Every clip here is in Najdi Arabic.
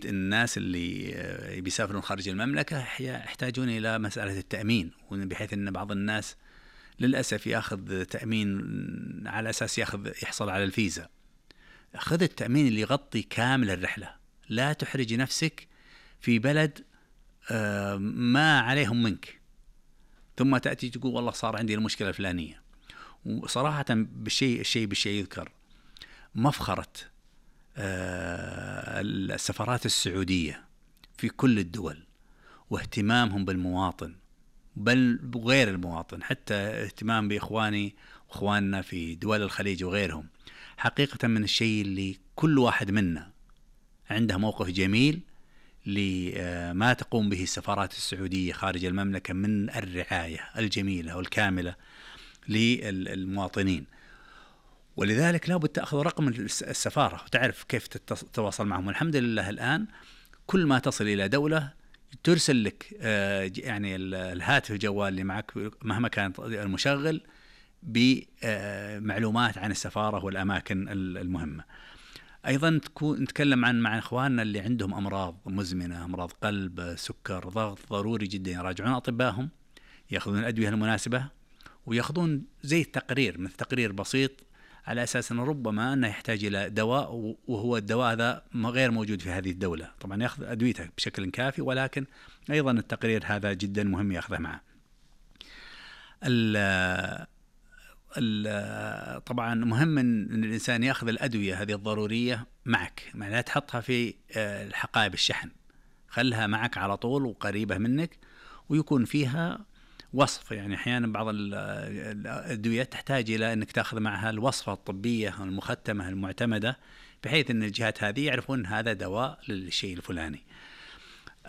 الناس اللي بيسافرون خارج المملكة يحتاجون إلى مسألة التأمين، بحيث أن بعض الناس للأسف يأخذ تأمين على أساس يحصل على الفيزا. خذ التأمين اللي يغطي كامل الرحلة، لا تحرج نفسك في بلد ما عليهم منك ثم تأتي تقول والله صار عندي المشكلة الفلانية. وصراحة الشيء يذكر مفخرة السفارات السعودية في كل الدول واهتمامهم بالمواطن، بل غير المواطن، حتى اهتمام بإخواننا في دول الخليج وغيرهم. حقيقة من الشيء اللي كل واحد منا عنده موقف جميل لما تقوم به السفارات السعودية خارج المملكة من الرعاية الجميلة والكاملة للمواطنين. ولذلك لابد تأخذ رقم السفارة وتعرف كيف تتواصل معهم. الحمد لله الآن كل ما تصل إلى دولة ترسل لك يعني الهاتف الجوال اللي معك مهما كان المشغل بمعلومات عن السفارة والأماكن المهمة. أيضا نتكلم مع إخواننا اللي عندهم أمراض مزمنة، أمراض قلب، سكر، ضغط، ضروري جدا يراجعون أطبائهم، يأخذون الأدوية المناسبة، ويأخذون زي التقرير، مثل تقرير بسيط على أساس أنه ربما أنه يحتاج إلى دواء وهو الدواء هذا غير موجود في هذه الدولة. طبعا يأخذ أدويته بشكل كافي، ولكن أيضا التقرير هذا جدا مهم يأخذه معه. طبعا مهم أن الإنسان يأخذ الأدوية هذه الضرورية معك، يعني لا تحطها في الحقائب الشحن، خلها معك على طول وقريبة منك، ويكون فيها وصف. يعني أحيانا بعض الأدوية تحتاج إلى أنك تأخذ معها الوصفة الطبية المختمة المعتمدة، بحيث أن الجهات هذه يعرفون هذا دواء للشيء الفلاني.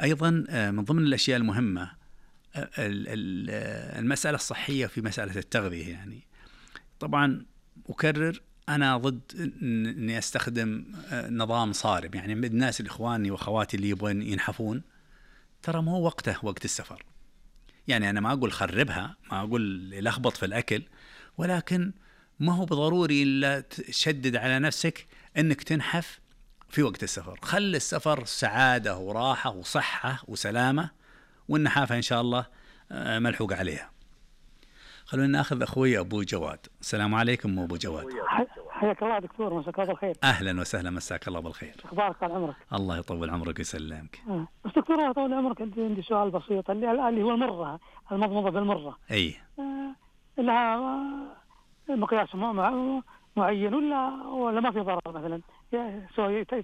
أيضا من ضمن الأشياء المهمة المسألة الصحية في مسألة التغذية. يعني طبعا أكرر أنا ضد أني أستخدم نظام صارم. يعني الناس الإخواني وأخواتي اللي يبغون ينحفون، ترى ما هو وقته وقت السفر. يعني أنا ما أقول خربها، ما أقول لخبط في الأكل، ولكن ما هو بضروري إلا تشدد على نفسك أنك تنحف في وقت السفر. خل السفر سعادة وراحة وصحة وسلامة، والنحافة إن شاء الله ملحوق عليها. خلونا ناخذ أخوي أبو جواد. السلام عليكم أبو جواد. حياك الله دكتور، مساك الله بالخير. أهلا وسهلا، مساك الله بالخير. أخبارك؟ طال عمرك. الله يطول عمرك ويسلمك. بس دكتور طول عمرك عندي سؤال بسيط، اللي هو المرة، المضمضة بالمرة. أي لها مقياس معين ولا ما في ضرر مثلا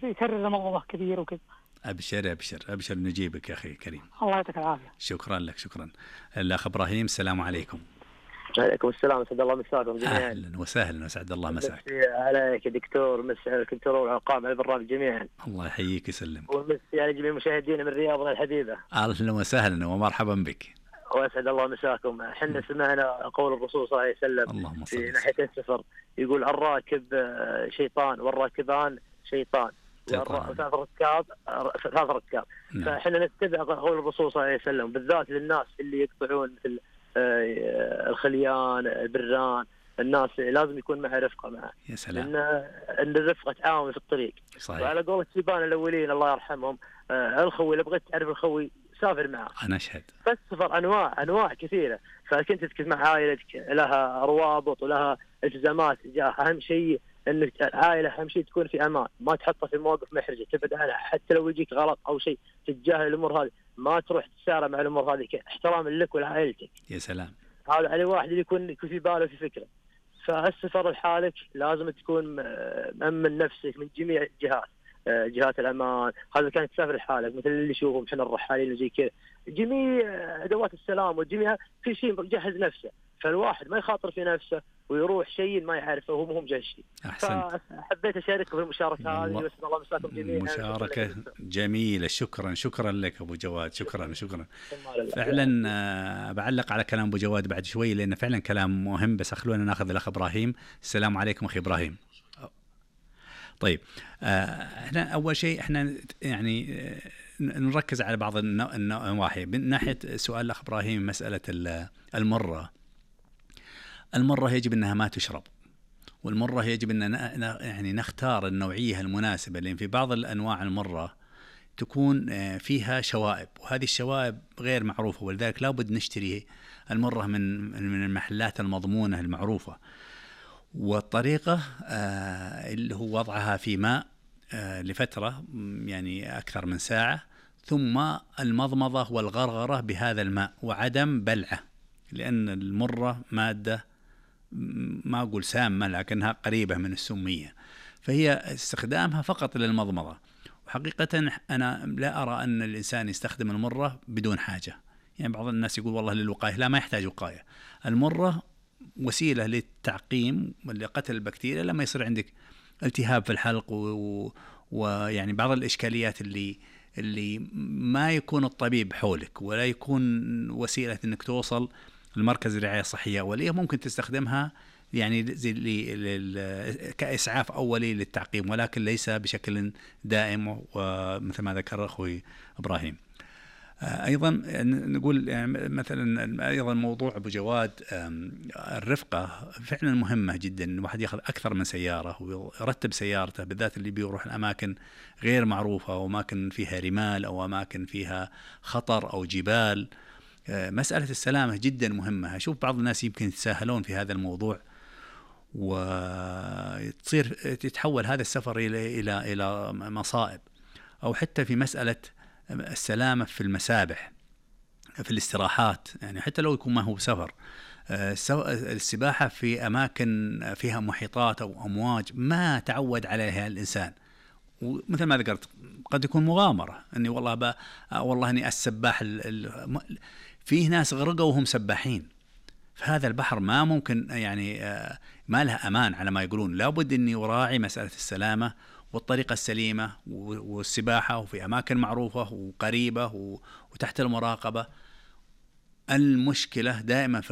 يكرر المضمضة كثير وكذا؟ أبشر نجيبك يا أخي كريم. الله يعطيك العافية. شكرا لك. شكرا. الأخ إبراهيم، السلام عليكم. عليكم السلام، أسعد الله مساكم جميعا. أهلا وسهلا، أسعد الله مساك. مسي عليك دكتور، مسي على الدكتور والعقام على البرنامج جميعا. الله يحييك ويسلمك. ومسي على جميع مشاهدينا من رياضنا الحبيبة. أهلا وسهلا ومرحبا بك. وأسعد الله مساكم. حنا سمعنا قول الرسول صلى الله عليه وسلم في ناحية السفر، يقول الراكب شيطان والراكبان شيطان وثلاث ركاب. فحنا نتبع قول الرسول صلى الله عليه وسلم، بالذات للناس اللي يقطعون في الخليان، البران، الناس لازم يكون معه رفقة معه. يا سلام. ان الرفقة تعاون في الطريق. صحيح. وعلى قول الشيبان الأولين الله يرحمهم، الخوي لو بغيت تعرف الخوي سافر معه. أنا أشهد. فالسفر أنواع كثيرة، فكنت تتكلم مع عائلتك لها روابط ولها التزامات. أهم شيء إن العائلة أهم شيء تكون في أمان، ما تحطها في مواقف محرجة، تبعد عنها. حتى لو يجيك غلط أو شيء تتجاهل الأمور هذه، ما تروح تسارع مع الأمور هذه، احترام لك ولعائلتك. يا سلام. هذا على واحد اللي يكون في باله في فكرة. فالسفر لحالك لازم تكون مأمن نفسك من جميع الجهات، جهات الأمان. هذا كانت تسافر لحالك، مثل اللي يشوفهم احنا الرحالين وزي كذا، جميع أدوات السلام وجميع في شيء مجهز نفسه. فالواحد ما يخاطر في نفسه ويروح شيء ما يعرفه وهو مهم جه شيء. فحبيت أشارككم في المشاركة هذه، بس الله مساكم جميعا. مشاركة جميلة. شكرا لك أبو جواد. شكرا. فعلا بعلق على كلام أبو جواد بعد شوي، لأنه فعلا كلام مهم. بس خلونا ناخذ الأخ إبراهيم. السلام عليكم أخي إبراهيم. طيب احنا أول شيء احنا يعني نركز على بعض النواحي. من ناحية سؤال الأخ إبراهيم، مسألة المرة يجب أنها ما تشرب، والمرة يجب أن يعني نختار النوعية المناسبة، لأن في بعض الأنواع المرة تكون فيها شوائب، وهذه الشوائب غير معروفة، ولذلك لابد نشتري المرة من المحلات المضمونة المعروفة. والطريقة اللي هو وضعها في ماء لفترة يعني أكثر من ساعة، ثم المضمضة والغرغرة بهذا الماء وعدم بلعه، لأن المرة مادة ما أقول سامة لكنها قريبة من السمية، فهي استخدامها فقط للمضمضة. وحقيقة أنا لا أرى أن الإنسان يستخدم المرة بدون حاجة. يعني بعض الناس يقول والله للوقاية، لا، ما يحتاج وقاية. المرة وسيلة للتعقيم ولقتل البكتيريا لما يصير عندك التهاب في الحلق ويعني بعض الإشكاليات اللي ما يكون الطبيب حولك ولا يكون وسيلة أنك توصل لمركز الرعاية الصحية أولية، ممكن تستخدمها يعني زي كإسعاف أولي للتعقيم، ولكن ليس بشكل دائم، ومثل ما ذكر أخوي إبراهيم. أيضا نقول يعني مثلا أيضا موضوع أبو جواد، الرفقة فعلا مهمة جدا. الواحد يأخذ أكثر من سيارة ويرتب سيارته، بالذات اللي بيروح الأماكن غير معروفة أو أماكن فيها رمال أو أماكن فيها خطر أو جبال. مسألة السلامة جدا مهمة. أشوف بعض الناس يمكن يتساهلون في هذا الموضوع، وتصير تتحول هذا السفر إلى مصائب. أو حتى في مسألة السلامة في المسابح، في الاستراحات، يعني حتى لو يكون ما هو سفر، السباحة في أماكن فيها محيطات أو أمواج ما تعود عليها الإنسان، ومثل ما ذكرت قد يكون مغامرة أني والله أني السباح فيه ناس غرقوا وهم سباحين. فهذا البحر ما ممكن يعني ما لها أمان على ما يقولون. لابد أني أراعي مسألة السلامة والطريقة السليمة والسباحة، وفي أماكن معروفة وقريبة وتحت المراقبة. المشكلة دائما في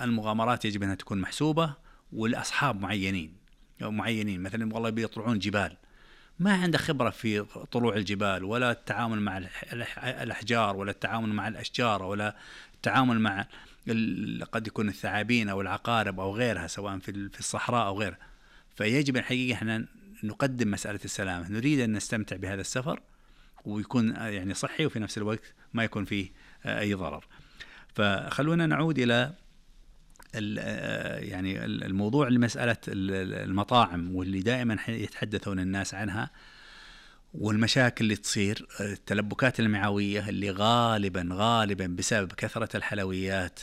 المغامرات يجب أنها تكون محسوبة، والأصحاب معينين مثلا والله بيطلعون جبال، ما عنده خبرة في طلوع الجبال ولا التعامل مع الأحجار ولا التعامل مع الأشجار ولا التعامل مع قد يكون الثعابين أو العقارب أو غيرها، سواء في الصحراء أو غيرها. فيجب الحقيقة احنا نقدم مسألة السلامة. نريد أن نستمتع بهذا السفر ويكون يعني صحي، وفي نفس الوقت ما يكون فيه أي ضرر. فخلونا نعود إلى يعني الموضوع لمسألة المطاعم، واللي دائما يتحدثون الناس عنها، والمشاكل اللي تصير، التلبكات المعوية اللي غالبا بسبب كثرة الحلويات،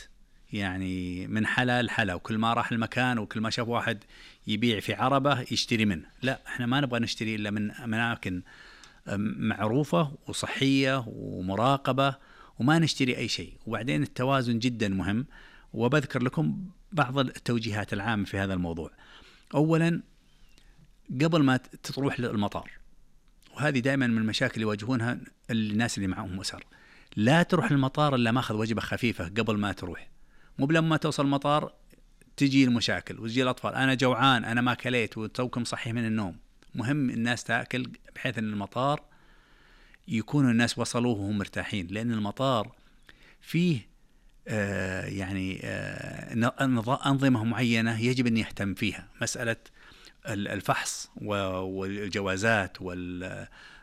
يعني من حلا لحلا، وكل ما راح المكان وكل ما شاف واحد يبيع في عربة يشتري منه. لا، احنا ما نبغى نشتري إلا من أماكن معروفة وصحية ومراقبة، وما نشتري أي شيء. وبعدين التوازن جدا مهم، وبذكر لكم بعض التوجيهات العامة في هذا الموضوع. أولا، قبل ما تروح للمطار، وهذه دائما من المشاكل اللي يواجهونها الناس اللي معهم أسر، لا تروح المطار إلا ماخذ وجبة خفيفة قبل ما تروح. مو لما توصل المطار تجي المشاكل وتجي الأطفال، أنا جوعان، أنا ما كليت، وتوكم صحي من النوم. مهم الناس تأكل بحيث أن المطار يكونوا الناس وصلوه وهم مرتاحين، لأن المطار فيه أنظمة معينة يجب أن يهتم فيها. مسألة الفحص والجوازات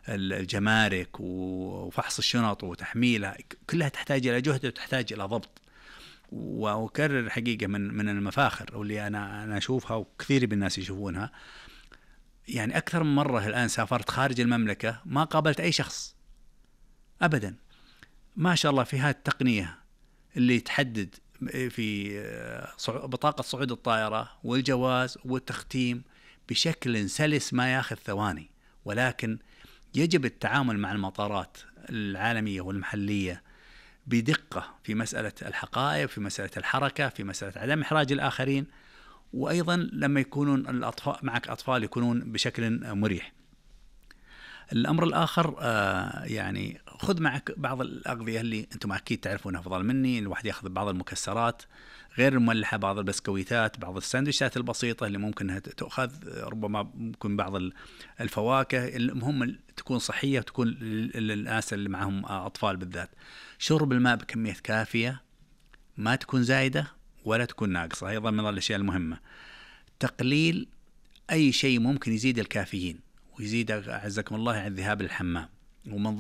والجمارك وفحص الشنط وتحميلها، كلها تحتاج إلى جهد وتحتاج إلى ضبط. وأكرر حقيقة من المفاخر واللي أنا أشوفها وكثير من الناس يشوفونها، يعني أكثر من مرة الآن سافرت خارج المملكة ما قابلت أي شخص أبدا، ما شاء الله، في هذه التقنية اللي تحدد في بطاقة صعود الطائرة والجواز والتختيم بشكل سلس ما ياخذ ثواني. ولكن يجب التعامل مع المطارات العالمية والمحلية بدقة في مسألة الحقائب، في مسألة الحركة، في مسألة عدم إحراج الآخرين، وأيضا لما يكونون الأطفال معك أطفال يكونون بشكل مريح. الأمر الآخر يعني خذ معك بعض الأغذية اللي أنتم أكيد تعرفونها أفضل مني. الواحد يأخذ بعض المكسرات غير المملحة، بعض البسكويتات، بعض الساندويشات البسيطة اللي ممكن تأخذ، ربما ممكن بعض الفواكه. المهم تكون صحية وتكون للناس اللي معهم أطفال بالذات. شرب الماء بكمية كافية، ما تكون زايدة ولا تكون ناقصة، أيضا من الأشياء المهمة. تقليل أي شيء ممكن يزيد الكافيين ويزيد أعزكم الله عن الذهاب للحمام، ومن